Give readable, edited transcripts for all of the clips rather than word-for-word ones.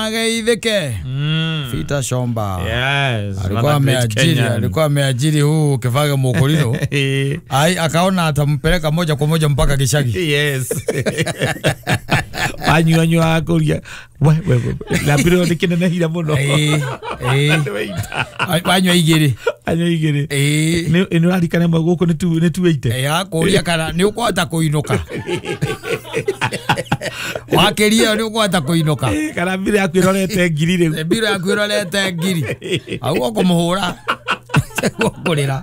Ageithĩke. Peter Shomba. Yes. Alikuwa another great ameajiri, Kenyan. alikuwa ameajiri huu Kivage Mukurino. Ai, akaona atampeleka moja kwa moja mpaka Gishagi. Yes. Anyuanyua kũria we we we na mbiro nĩ kĩnenehire mũno. Eh, eh. Wanyua igĩrĩ. Anyua igĩrĩ. Eh. Nĩ ũrarikana ĩmwe gũkũ nĩ 280. Eh, akũria kana nĩ ũkũhota kũinũka. Wakĩria nĩ ũkũhota kũinũka. Eh, kana mbiro yaku ĩrorete ngiri rĩu. Mbiro yaku ĩrorete ngiri. Hau ũkũmũhũra. Ũkũrĩra.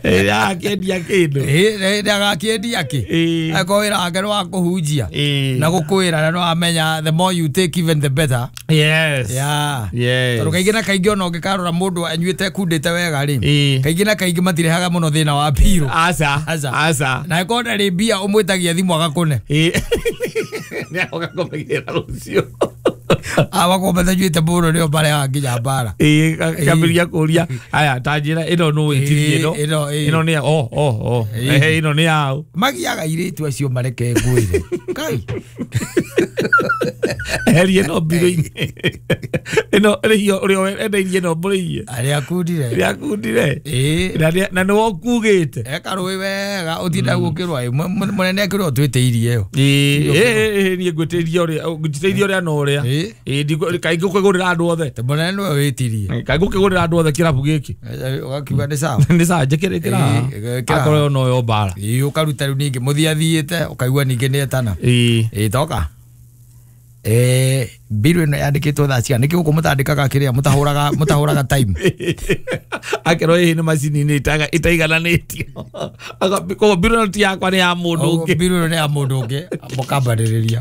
Eh, akĩendia kĩndũ. Ĩ, agakĩendia kĩ? Eh. Angĩkorwo wĩra wake nĩ wa kũhunjia. Eh. Na gũkwĩra na nĩwamenya the more you take even the better. Yes. Yeah. Yes. Tondũ kaingĩ na kaingĩ ona ũngĩkarora mũndũ anyuĩte kundĩte wega rĩ, Ĩĩ. kaingĩ na kaingĩ matirehaga mũno thĩna wa mbirũ. Aca. Aca. Aca. Na ĩkorwo ndarĩ mbia ũmwĩtagia thimũ agakũne. Ĩĩ. Nĩ agoka kũmĩgĩra rũciũ. Awakorwo matanyuĩte mũno nĩo marehaga nginya mbara. Ĩĩ, kambĩrĩria kũria aya ta njĩra ĩno nũ ĩtirie ĩno. Ĩĩ, ĩno, ĩĩ. Ĩno nĩ ya o o o. Ĩĩ. Ehe, ĩno nĩ yaũ. Magiaga airĩtu acio mareke ngwĩre. Kai. Eherie ĩno mbirũ-inĩ. Ĩno rĩhio ũrĩa wendeirie ĩno mbũrĩiye. Arĩa akundire. Ĩrĩa akundire. Ĩĩ. Na nĩwe ũkugĩte. Ekarũĩ wega ũtinda gũkĩrwo mũnene akĩrwo twĩtĩirie ĩyo. Ĩĩ, ĩĩ, ĩĩ, niĩ ngwĩtĩirie ũrĩa ngwĩtĩirie ũrĩa na ũrĩa. Ĩĩ. Ĩĩ, kaingĩ ũkĩgũrĩra andũ othe. Te mũnene nĩwe wĩtirie. Kaingĩ ũkĩgũrĩra andũ othe kĩrabu gĩkĩ. Ũgakiuga nĩ sawa. Nĩ sawa njĩkĩre Ĩĩ, ĩkĩra. Akorwo ĩyo noyo mbara. Ĩĩ, ũkaruta rĩu ningĩ mũthiĩ athiĩte ũkaigua ningĩ nĩ etana. Ĩĩ. Ĩĩ, toka. Eh, mbirũ ĩno yandĩkĩtwo thaa cigana? Nĩkĩ gũkũ mũtandĩkaga kĩrĩa mũtahũraga mũtahũraga time? Akerwo ĩĩ nĩ macini-inĩ itaigananĩtio. Koguo mbirũ ĩno ti yakwa nĩ ya mũndũ ũngĩ. Mbirũ ĩno nĩ ya mũndũ ũngĩ mũkambanĩrĩria.